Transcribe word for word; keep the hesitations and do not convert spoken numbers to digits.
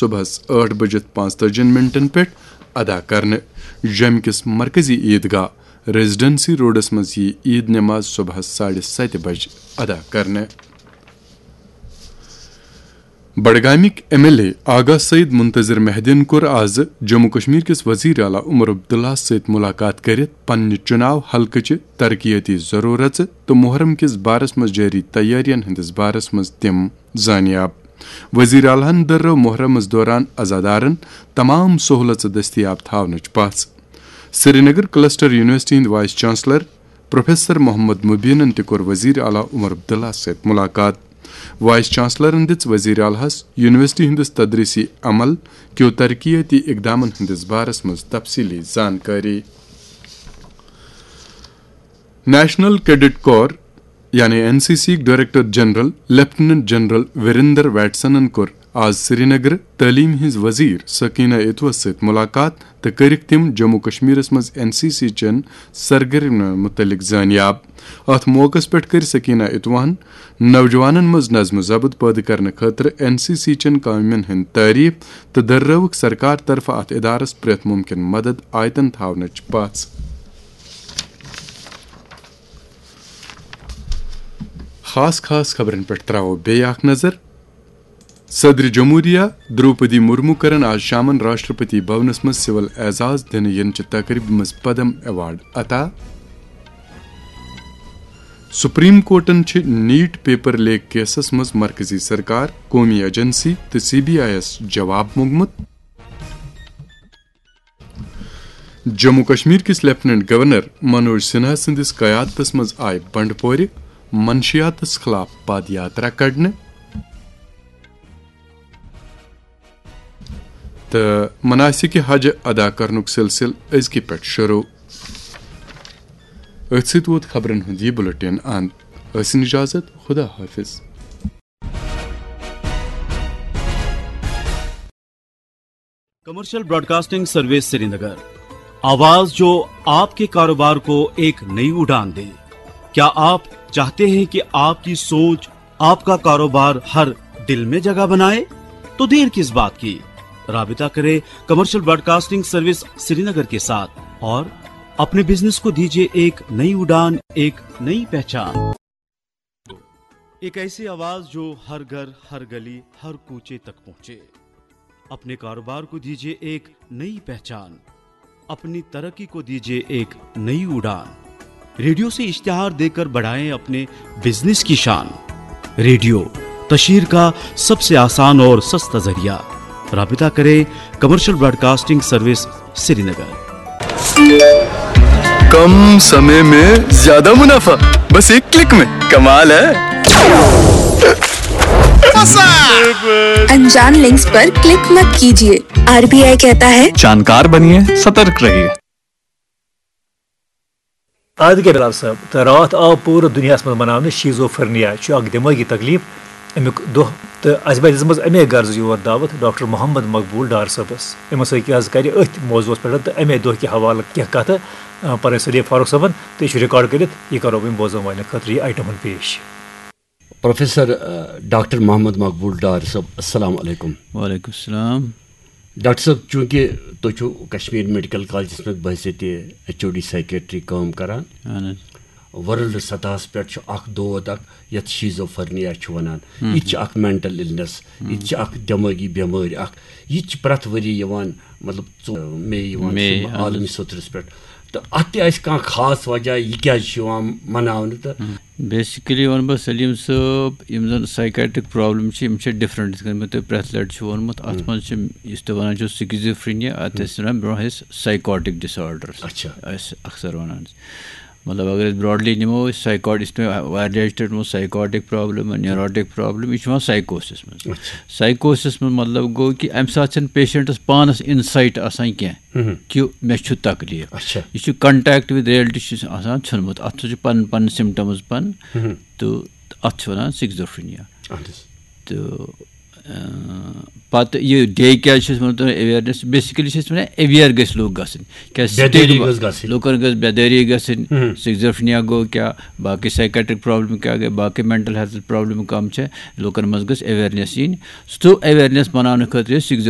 صبحس ٲٹھ بجِتھ پانٛژتٲجی منٹن پٮ۪ٹھ ادا کرنہٕ۔ جوٚمہِ کِس مرکزی عیدگاہ ریزیڈنسی روڈس منٛز یِیہِ عید نماز صبحس ساڑِ ستہِ بجہِ ادا کرنہٕ۔ بڈگامٕکۍ ایم ایل اے آغا سعید منتظر مہدیَن کوٚر آز جموں کشمیر کِس وزیر اعلیٰ عمر عبداللہ سۭتۍ ملاقات کٔرِتھ پننہِ چُناو حلقہٕ چہِ ترقیٲتی ضروٗرژٕ تہٕ محرم کِس بارس منٛز جٲری تیٲرین ہٕنٛدِس بارس منٛز تِم زانیاب۔ وزیر اعلیٰ ہَن دٔرٲو محرمس دوران عزادارن تمام سہولژٕ دٔستیاب تھاونٕچ پژھ۔ سرینگر کلسٹر یونیورسٹی ہٕنٛدۍ وائس چانسلر پروفیسر محمد مبینن تہِ کوٚر وزیر اعلیٰ عمر عبداللہ سۭتۍ ملاقات۔ وائس چانسلرن دِژ وزیر اعلیٰ ہَس یونیورسٹی ہٕنٛدِس تدریسی عمل کیو ترقیاتی اقدامن ہٕنٛدِس بارس منٛز تفصیلی زانکٲری۔ نیشنل کیڈٹ کور یعنی N C C director general lieutenant general Virender ویٹسنن کوٚر آز سرینگر تعلیٖم ہٕنٛز وزیر سکینہ اتوس سۭتۍ ملاقات تہٕ کٔرٕکھ تِم جموں کشمیرس منٛز این سی سی چٮ۪ن سرگرمیَن مُتعلق زانیاب۔ اتھ موقعس پٮ۪ٹھ کٔر سکینہ اتوہن نوجوانن منٛز نظم و ضبط پٲدٕ کرنہٕ خٲطرٕ این سی سی چٮ۪ن کامٮ۪ن ہٕنٛد تعریف تہٕ دٔررٲوٕکھ سرکار طرفہٕ اتھ ادارس پرٛٮ۪تھ ممکن مدد آیتن تھاونٕچ پژھ۔ خاص خاص خبرن پٮ۪ٹھ تراوو بیٚیہِ اکھ نظر۔ صدر جمہوریہ درٛوپدی مرمو کرن آز شامن راشٹرپتی بھونس منٛز سول اعزاز دِنہٕ یِنہٕ چہِ تقریبہِ منٛز پدم ایوارڈ عطا۔ سپریم کورٹن چھِ نیٹ پیپر لیک کیسس منٛز مرکزی سرکار، قومی ایجنسی تہٕ سی بی آئی یَس جواب موٚنگمُت۔ جموں کشمیر کِس لیفٹیننٹ گورنر منوج سنہا سٕنٛدِس قیادتس منٛز آیہِ بنڈپورِ منشیاتس خلاف پد یاترا کڑنہٕ۔ تہٕ مناسک حج ادا کرنُک سلسلہٕ أزکہِ پٮ۪ٹھ شروع۔ أتھۍ سۭتۍ ووت خبرن ہُنٛد یہِ بُلٹن اند۔ ٲسِن اجازت، خدا حافظ۔ کمرشل براڈکاسٹنگ سروس سرینگر، آواز جو آپ کے کاروبار کو ایک نئی اڑان دے۔ کیا آپ چاہتے ہیں کہ آپ کی سوچ، آپ کا کاروبار ہر دل میں جگہ بنائے؟ تو دیر کس بات کی؟ رابطہ کریں کمرشل براڈکاسٹنگ سروس سرینگر کے ساتھ اور اپنے بزنس کو دیجیے ایک نئی اڑان، ایک نئی پہچان۔ ایک ایسی آواز جو ہر گھر، ہر گلی، ہر کوچے تک پہنچے۔ اپنے کاروبار کو دیجیے ایک نئی پہچان، اپنی ترقی کو دیجیے ایک نئی اڑان۔ ریڈیو سے اشتہار دیکر بڑھائیں اپنے بزنس کی شان۔ ریڈیو، تشہیر کا سب سے آسان اور سستا ذریعہ۔ رابطہ کریں کمرشل براڈکاسٹنگ سروس سرینگر۔ कम समय में ज्यादा मुनाफा, बस एक क्लिक में। कमाल है। अनजान लिंक्स पर क्लिक मत कीजिए। आरबीआई कहता है, जानकार बनिए, सतर्क रहिए। آدگے بلال صٲب، تہٕ راتھ آو پوٗرٕ دُنیاہَس منٛز مناونہٕ شیزوفرنیا، چھُ اکھ دٮ۪مٲغی تکلیٖف، اَمیُک دۄہ، تہٕ اَسہِ بَے دِژمٕژ اَمے غرضہٕ یور دعوت ڈاکٹر محمد مقبول ڈار صٲبَس۔ أمِس سۭتۍ حظ کَرِ أتھۍ موضوعَس پٮ۪ٹھ تہٕ اَمے دۄہ کہِ حوالہٕ کینٛہہ کَتھٕ، آ، پَنٕنۍ سلیب فاروق صٲبَن، تہٕ یہِ چھُ ریکارڈ کٔرِتھ، یہِ کَرو وۄنۍ بوزَن والٮ۪ن خٲطرٕ یہِ آیٹم ہُنٛد پیش۔ پروفیسر، آ، ڈاکٹر محمد مقبول ڈار صٲب، السلام علیکم۔ وعلیکم السلام۔ ڈاکٹر صٲب، چوٗنٛکہِ تُہۍ چھِو کشمیر میڈیکل کالجس منٛز بحیثیت ایچ او ڈی سائیکیٹری کٲم کران، اہن حظ۔ ورلڈ سطحس پٮ۪ٹھ چھُ اکھ دود اکھ یتھ شیزوفرنیا چھِ ونان۔ ہم۔ یہِ تہِ چھِ اکھ مینٹل النس، یہِ تہِ چھِ اکھ دٮ۪مٲغی بٮ۪مٲرۍ اکھ۔ یہِ تہِ چھِ پرٛٮ۪تھ ؤری یِوان، مطلب، ژو-، مے یِوان مے، چھِ اہن حظ۔ عالمی سطحس پٮ۪ٹھ۔ تہٕ اتھ تہِ آسہِ کانٛہہ خاص وجہ، یہِ کیازِ چھُ یِوان مناونہٕ تہٕ ہم۔ بیسیکلی وَنہٕ بہٕ سلیٖم صٲب، یِم زَن سایکیٹرک پرابلم چھِ، یِم چھِ ڈفرنٹ، یِتھ کٔنۍ مےٚ تۄہہِ پرٛٮ۪تھ لَٹہِ چھُ ووٚنمُت۔ اَتھ ہم۔ منٛز چھِ، یُس تُہۍ وَنان چھِو سِکِزوفرینیا، اَتھ ہم۔ ٲسۍ وَنان برونٛہہ ٲسۍ سایکوٹک ڈِس آرڈرس۔ اچھا۔ ٲسۍ اکثر وَنان۔ مطلب، اگر أسۍ براڈلی نِمو، أسۍ سایکاٹ-، یُس مےٚ واریاہ لَٹہِ ووٚنمُت، سایکاٹک پرابلم، نیوروٹک پرابلم، یہِ چھُ یِوان سایکوسس منٛز۔ اچھا۔ سایکوسس منٛز مطلب گوٚو کہِ اَمہِ ساتہٕ چھَنہٕ پیشنٹس پانس انسایٹ آسان کینٛہہ ہم۔ کہِ مےٚ چھُ تکلیٖف۔ اچھا۔ یہِ چھُ contact with reality چھُ آسان ژھیوٚنمُت، اَتھ چھُ پَنُن، پَنٕنۍ سِمٹمٕز پَنٕنۍ۔ ہم۔ تہٕ اَتھ چھِ وَنان سِکزوفرینیا۔ اہن حظ۔ تہٕ، اۭں، پَتہٕ یہِ ڈے کیٛازِ چھِ أسۍ وَنان تۄہہِ awareness؟ Basically چھِ أسۍ وَنان اویئر گٔژھۍ لُکھ گژھٕنۍ۔ کیٛازِ بیدٲری stigma، گٔژھ گژھٕنۍ۔ لُکَن گٔژھ بیدٲری گژھٕنۍ۔ ہم۔ سِکزوفرینیا گوٚو کیٛاہ، باقٕے سایکیٹرک پرابلم کیٛاہ گٔے، باقٕے مینٹل ہیلتھ پرابلم کم چھےٚ، لُکَن منٛز گٔژھ awareness یِنۍ۔ سُہ awareness بَناونہٕ خٲطرٕ چھِ سِکزو